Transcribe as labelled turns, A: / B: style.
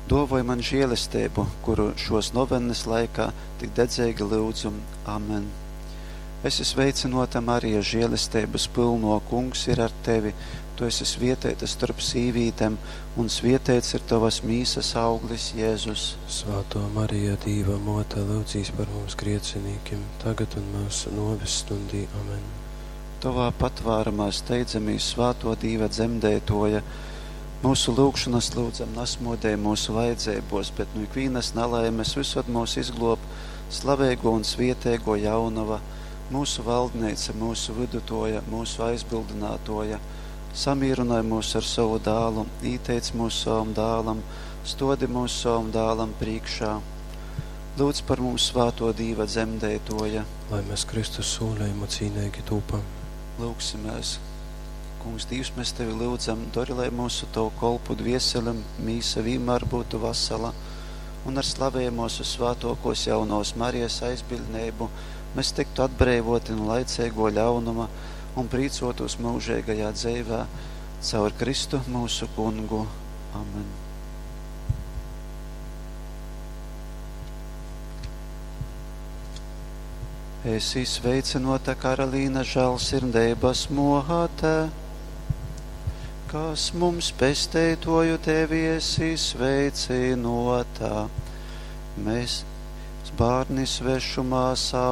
A: Duovoj man žēlesteibu, kuru šuos novenys laikā tik dedzeigi lyudzu. Amen. Esi sveicynota, Marija, žēlesteibys pylnuo, Kungs ir ar tevi. Tu esi svieteita storp sīvītem, un svieteits ir tovas mīsas auglis, Jēzus.
B: Svātō Marija, Dīva Mōte, lyudzīs par mums griecinīkim, tagad un myusu nōves stundī. Amen.
A: Tovā patvārumā steidzamīs, svātō Dīva dzemdeitōja. Myusu lyugšonas lyudzam nasmōdej myusu vajadzeibōs, bet nu ikvīnas nalaimes vysod myus izglōb slaveigō un svieteigō jaunova, myusu valdneica, myusu vydutōja, myusu aizbildinātōja. Samīrynoj myus ar sovu dālu, īteic myus sovam dālam, stōdi myus sovam dālam prīškā. Lūdz par mums svātō Dīva dzemdeitōja.
B: Lai mēs Kristus sūlejumu cīneigi tūpam.
A: Lyugsimēs. Kungs Dīvs, mēs Tevi lyudzam, dori, lai myusu Tovu kolpu dvieselem mīsa vīnmār būtu vasala, un ar slavejamōs vyssvātōkōs jaunovas Marijas aizbiļdneibu mēs tiktu atbreivōti nu laiceigō ļaunuma un prīcōtūs myužeigajā dzeivē caur Kristu myusu Kungu. Amen. Esi sveicynota, Karalīna, žālsirdeibas mōte, kas mums pesteitoju tevi esi sveicynota. Mēs bārni svešumā savu.